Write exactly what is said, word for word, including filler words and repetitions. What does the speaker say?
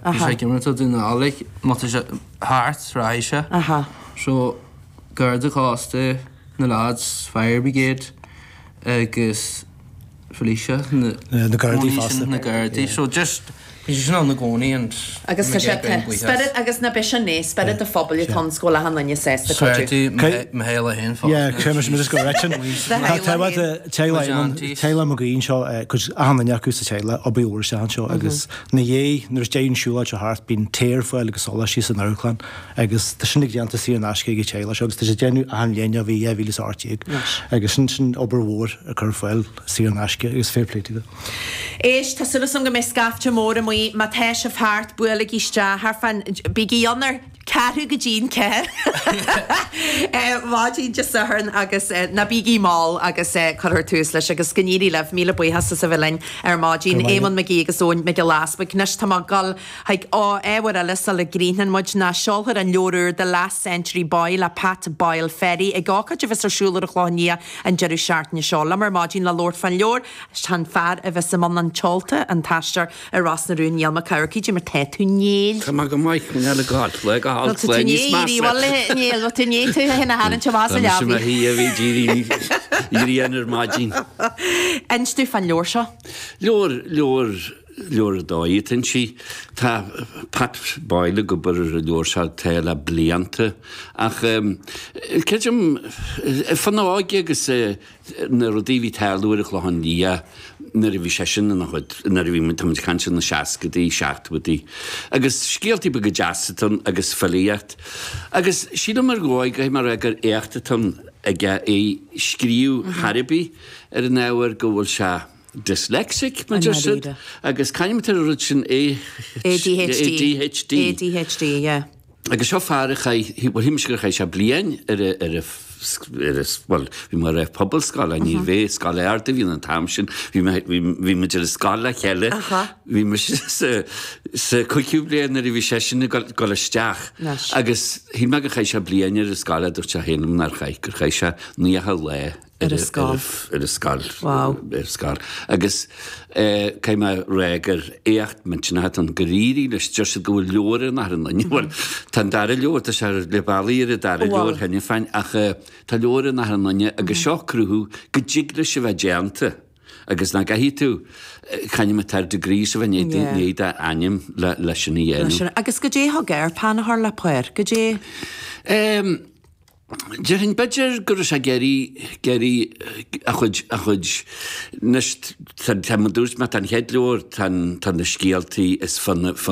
Bhí sé ag imirt do Dún na nGall, like, má tá sé thart, rachaidh sé. Aha. So Garda Cósta, na lads, Fire Brigade agus Felicia, na Na Gardaí cónaí fosta. sin, na Gardaí. So just bhí sé sin ann i gcónaí and Agus tá sé spiorad agus na be sin é spiorad an phobail atá ann go bhfuil achan duine sásta cuidiú. Swearty Michaela féin fosta. Yeah, cé mar just go reitin. Aunties. Teaghlach Mac Aoidh seo cuid achan duine acu sa teaghlach obair úr se anseo agus na dhé nuair is déan siúlóid seo thart bíonn tae ar fáil agus sóláistí san amharclann agus tá sin ag déanta saor in aisce ag an teaghlach seo agus tá sé déanamh achan bhliain ó bhí dhá mhíle is a hocht déag agus sin sin obair mhór a chur ar fáil saor in aisce agus fair play to Éist tá súil agam go mbeidh scaifte mór amuigh má tá sibh thart buailigí isteach thar fan bígí ann ar ceathrú go dtí an ceathair. Maidin Dé Sathairn agus ná bígí mall agus cuirfear tús leis agus go n-éirí libh míle buíochas as a bheith linn ar maidin Éamonn McGee agus Eoin Mac Giolla Easbuig. Anois tá mé ag dul chuig ábhar eile sula gcríochnann muid ná seolfar an leabhar úr The Last Century Boy le Pat Boyle Ferry ag ócáid a bheas ar siúl ar an Chlochán Liath an deireadh seachtaine seo. Liom ar maidin le labhairt fán leabhar tá fear a bheas i mbun an tseolta an t-aisteoir i Ros na Rún Niall Mac Eachmharcaigh mar tá tú Néill. Tá go maith le gáil le go tú Níl tú ní tú hena hana te más a hí a bhí dírí ar maidin. Inis domh fán leabhar seo? Leabhar leabhar leabhar dóigh sí tá Pat Boyle ag obair ar an leabhar seo tá le blianta ach creidim fan óige agus na rudaí bhí tarlú ar an Chlochán Liath nuair a bhí sé sin ina chuid nuair a bhí tá muid ag caint na seascadaí seachtóidí agus scéaltaí beaga deasa atá ann agus filíocht agus sílim ar dhóigh go mar gur éacht atá ann aige é scríobh thar bith ar an ábhar go bhfuil sé dyslexic mar deir siad agus caithfidh an rud sin A ADHD ADHD ADHD yeah. Agus seo fear a chaith bhuel shíl mise gur chaith sé bliain ar a ar a ar a bhuel bhí mé ar pobalscoil ní bheith scoil ard a bhí an t-am sin bhí mé bhí muid ar scoil le chéile bhí mise sa sa cúigiú bliain nuair a bhí seisean ag dul isteach agus shíl mé gur chaith sé bliain ar an scoil a dúirt sé féin liom nár chaith gur chaith sé naocha lá ar a scoil ar a scoil ar a scoil agus caithfidh mé rá gur éacht millteanach atá ann gur éirigh leis deir siad go bhfuil leabhar in achan duine bhuel tá an dara leabhar tá sé le bealaí ar an dara leabhar cheana féin ach tá leabhar in achan duine agus seo cruthú go dtig leis a bheith déanta agus nach gcaithfidh tú caithfidh mé tar degrees a bheith i ndiaidh d'ainm le sin a dhéanamh. Agus goidé thug air peann a chur le páipéar, goidé Déarfainn b'fhéidir go raibh sé ag iarraidh ag iarraidh a chuid a chuid anois tá tá mar dúirt mé tá an chéad leabhar tá tá na scéaltaí is fá na fá